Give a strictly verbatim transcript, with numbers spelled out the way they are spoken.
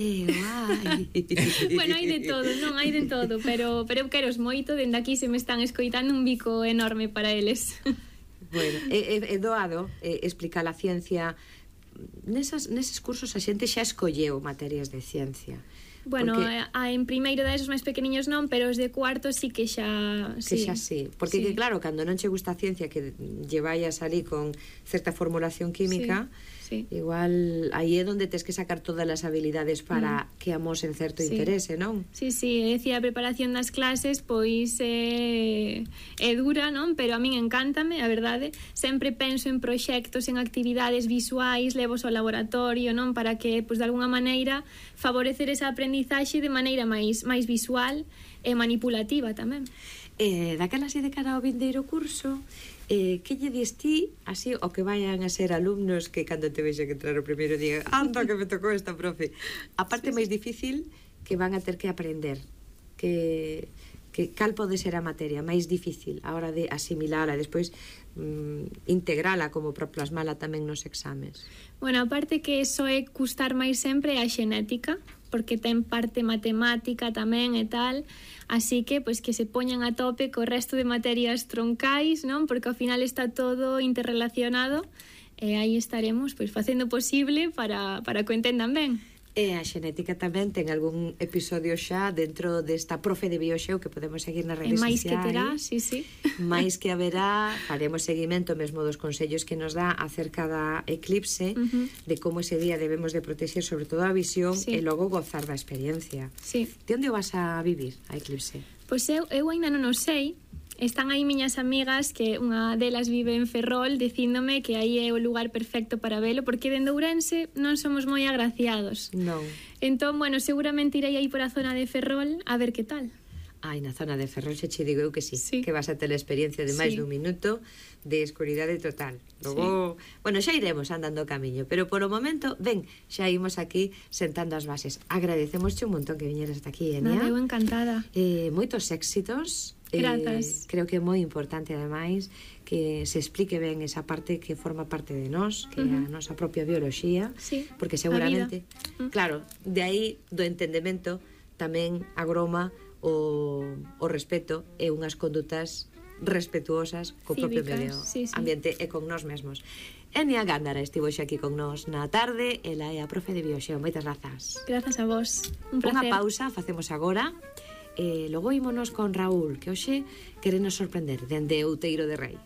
Eh, guai. Bueno, hai de todo, non hai de todo, pero pero eu quero os moito, dende aquí se me están escoitando un bico enorme para eles. Bueno, é, é doado é, explicar a ciencia. Nesas, neses cursos a xente xa escolleu materias de ciencia. Bueno, porque, a, en primeiro de esos máis pequeniños non, pero os de cuarto sí que xa... Que sí. xa sí. Porque, sí. que, claro, cando non che gusta a ciencia, que lle vai a salir con certa formulación química, sí, sí. igual aí é onde tes que sacar todas as habilidades para mm. que amosen certo sí. interese, non? Sí, sí, é dicir, a preparación das clases pois é, é dura, non? Pero a min encántame, a verdade. Sempre penso en proxectos, en actividades visuais, levos ao laboratorio, non? Para que, pois, de alguna maneira favorecer esa aprendizaxe de maneira máis máis visual e manipulativa tamén. Eh, daquela así de cara ao vindeiro curso, eh, que lle dis ti, así, o que vayan a ser alumnos que cando te vexen entrar o primeiro día, anda que me tocou esta profe, a parte sí, máis sí. difícil que van a ter que aprender, que, que cal pode ser a materia máis difícil a hora de asimilala e despois mm, integrala como para plasmala tamén nos exames. Bueno, a parte que eso é custar máis sempre a xenética, porque ten parte matemática tamén e tal, así que pois que se poñan a tope co resto de materias troncais, non? Porque ao final está todo interrelacionado e aí estaremos pois facendo posible para, para que o entendan ben. E a xenética tamén ten algún episodio xa dentro desta profe de Bioxeo que podemos seguir nas redes sociais. E máis que terá, sí, sí. máis que haberá, faremos seguimento mesmo dos consellos que nos dá acerca da eclipse, uh-huh. de como ese día debemos de protexer sobre todo a visión sí. e logo gozar da experiencia. Sí. De onde vas a vivir a eclipse? Pois eu, eu ainda non o sei. Están aí miñas amigas que unha delas vive en Ferrol dicíndome que aí é o lugar perfecto para velo porque dende Ourense non somos moi agraciados. Non. Entón, bueno, seguramente irei aí por a zona de Ferrol a ver que tal. Ai, na zona de Ferrol xe che digo eu que sí, sí. que vas a ter a experiencia de máis sí. dun minuto de escuridade total. Logo, sí. bueno, xa iremos andando o camiño, pero polo momento, ven, xa imos aquí sentando as bases. Agradecemos un montón que viñeras hasta aquí, Enia. Nada, eu encantada. Eh, moitos éxitos. Grazas. Eh, creo que é moi importante ademais que se explique ben esa parte que forma parte de nós, que uh-huh. é a nosa propia bioloxía, sí, porque seguramente, uh-huh. claro, de aí do entendemento tamén agroma o, o respeto e unhas condutas respetuosas co propio medio sí, sí. ambiente e con nós mesmos. Enia Gándara estivo xa aquí con nós na tarde, ela é a profe de Bioxeo. Moitas grazas. Grazas a vos. Un placer. Unha pausa, facemos agora. E logo ímonos con Raúl, que hoxe querenos sorprender dende Outeiro de Rei.